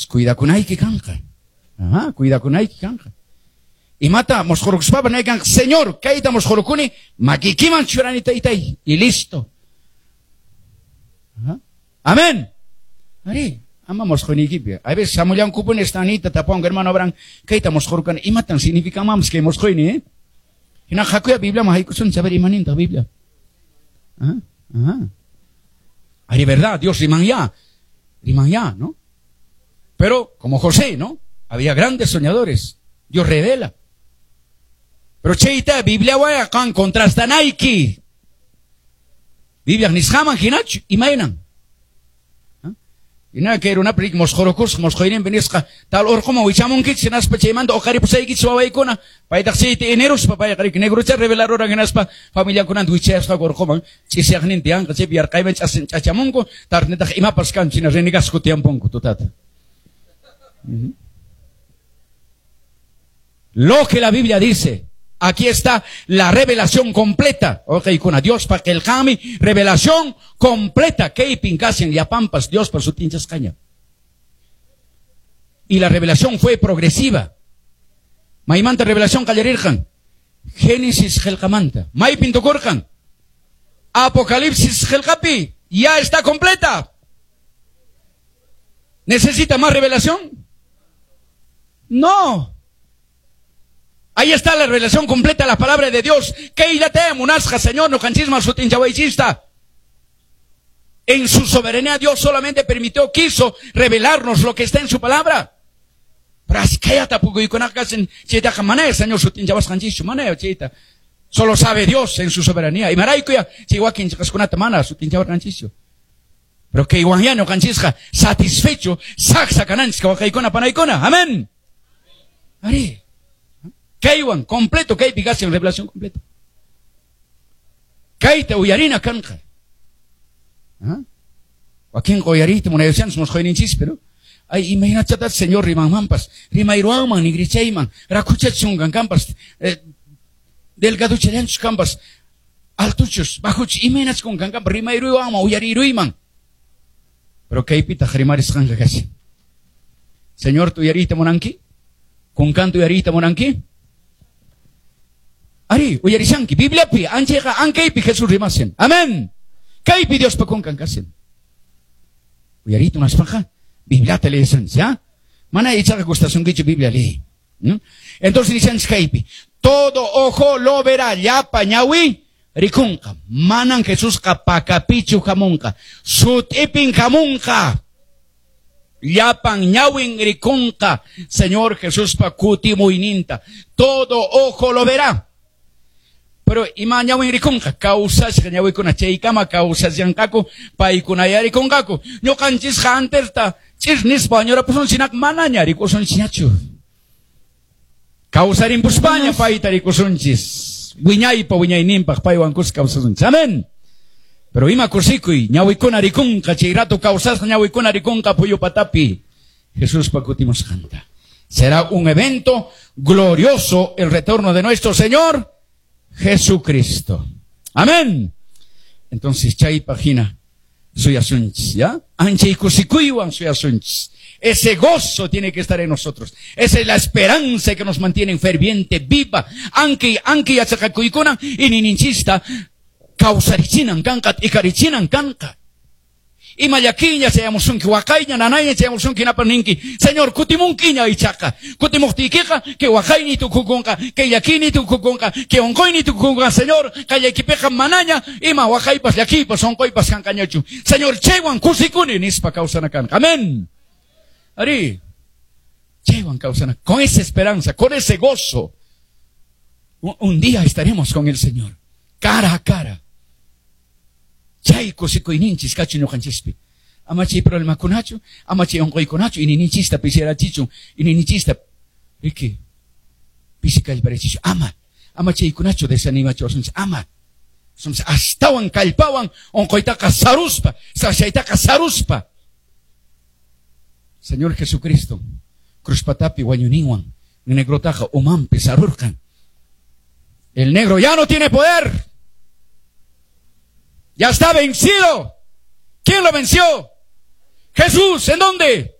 Cuidakunayki kanqa. Ajá, cuidakunayki kanqa. Imata mosqorukuspapas nay kanqa, Señor, kayta mosqorukuni, makikiman churani taytay, y listo. Ajá. Amén. Ari, ama mosqoyniykipi. A veces shamullankupuni estanita tapuwanku, hermano Abraham, kayta mosqorukani, imatan significan kay mosqoyni, eh? Hina hakuya Bibliaman haykusunchik, a ver imanintaq Biblia. Ajá, ajá. Ari, verdad, Dios riman ya, riman ya, ¿no? Pero, como José, ¿no? Había grandes soñadores. Dios revela. Pero chayta, Biblia kan contrastanayki. Biblia nisqaman hinachu, imaynan. Hina kay runapa rik mosqorukusqa, mosqoyninpi nisqa, tal urquman wichamunkichik hinaspa chaymanta uqaripusaykichik wawaykuna, paytaq chayta eneruspa payqa rik negrucha revelaruran hinaspa familiankunanta wichayasqaku urquman, ch'isyaqninta yanqa chaypi yarqayman ch'achamunku, tarnitaq imapas kanchu hina renegasku tiemponku tutata. Lo que la Biblia dice, aquí está la revelación completa. Ok, kuna Dios pa qillqami, revelación completa. Kaypin kashan llapanpas Dios pa sut'inchasqaña. Y la revelación fue progresiva. Maymanta revelación qallarirqan. Génesis qillqamanta. Maypin tukurqan. Apocalipsis qillqapi. Ya está completa. ¿Necesita más revelación? No. Ahí está la revelación completa de la palabra de Dios. Kayllata munasqa, Señor, ñuqanchisman sut'inchawaychista. En su soberanía Dios solamente permitió, quiso revelarnos lo que está en su palabra. Señor. Solo sabe Dios en su soberanía. Y Pero que igual ñuqanchisqa satisfecho, saksa kananchis wawqiykuna panaykuna. Amén. Ari. Kaywan completo, kaypi kashan revelación completa. Kayta uyarina kanqa. Wakinqa uyariyta munayashanchis mosqoyninchis, pero ay, imaynachata Señor rimanmanpas, rimayruwanman, nigrichayman, rakhuchachunkan kanpas, delgaduchallanchus kanpas, altuchus, bajuchus, imaynachkunkan kanpas, rimayruywanman, uyariruyman. Pero kaypitaq rimarisqanqa kashan. Señor, uyariyta munanki? Kunkanta uyariyta munanki? Ari, uyarishanki, Bibliapi, anchayqa ankaypi Jesús rimashan. Amén. Kaypi Diospa kunkan kashan. Uyariyta munaspaqa, Bibliata leeshanchis, ¿ya? Mana ichaqa gustasunkichu Biblia leey. ¿No? Entonces nishanchis kaypi, todo ojo lo verá, llapa ñawi rikunqa. Manan Jesusqa pakapichu hamunqa, sut'ipin hamunqa. Llapan ñawin rikunqa, Señor Jesuspa kutimuyninta. Todo ojo lo verá. Pero ima ñawin rikunqa, kawsashqa ñawikuna chaykama kawsashanqaku, paykunaya rikunqaku. Ñuqanchisqa anterta ch'ir nispa wañurapusun sinaqa manaña rikusunchikñachu. Kawsarimpuspaña payta rikusunchis. Wiñaypa wiñayninpaq paywan kuska kawsasunchis. Amén. Pero ima kusikuy, ñawikuna rikunqa, chay rato kawsasqa ñawikuna rikunqa phuyu patapi. Jesuspa kutimusqanta. Será un evento glorioso el retorno de nuestro Señor Jesucristo. Amén. Entonces, chay página suyasunchis, ¿ya? Anchay kusikuywan suyasunchis. Ese gozo tiene que estar en nosotros. Esa es la esperanza que nos mantiene ferviente, viva. Anki, anki yachaqakuykuna, iñiyninchista, kawsarichinan kanqa, t'ikarichinan kanqa. Ima llakiña chayamusunki, waqayña, nanayña chayamusunki, napa ninki. Señor, kutimunkiña ichaqa. Kutimuqtiykiqa, kay waqayni tukukunqa, kay llakiyni tukukunqa, kay unquyni tukukunqa. Señor, qallaykipiqa manaña ima waqaypas, llakiypas, unquypas kanqañachu. Señor, chaywan kusikuni nispa kawsana kanqa. Amén. Ari, chaywan kawsana, con esa esperanza, con ese gozo, un día estaremos con el Señor, cara a cara. Chay kusikuyninchis kachun ñuqanchispi. Ama chay problemakunachu, ama chay unquykunachu, iñiyninchista pisirachichun, iñiyninchista, riki, pisi kallparichichu, ama, ama chaykunachu desanimachiwasunchis, ama. Somos astawan kallpawan unquytaqa saruspa, sachaytaqa saruspa. Señor Jesucristo, cruzpatapi wañuninwan, negrotaqa umanpi sarurqan. El negro ya no tiene poder. Ya está vencido. ¿Quién lo venció? Jesús. ¿En dónde?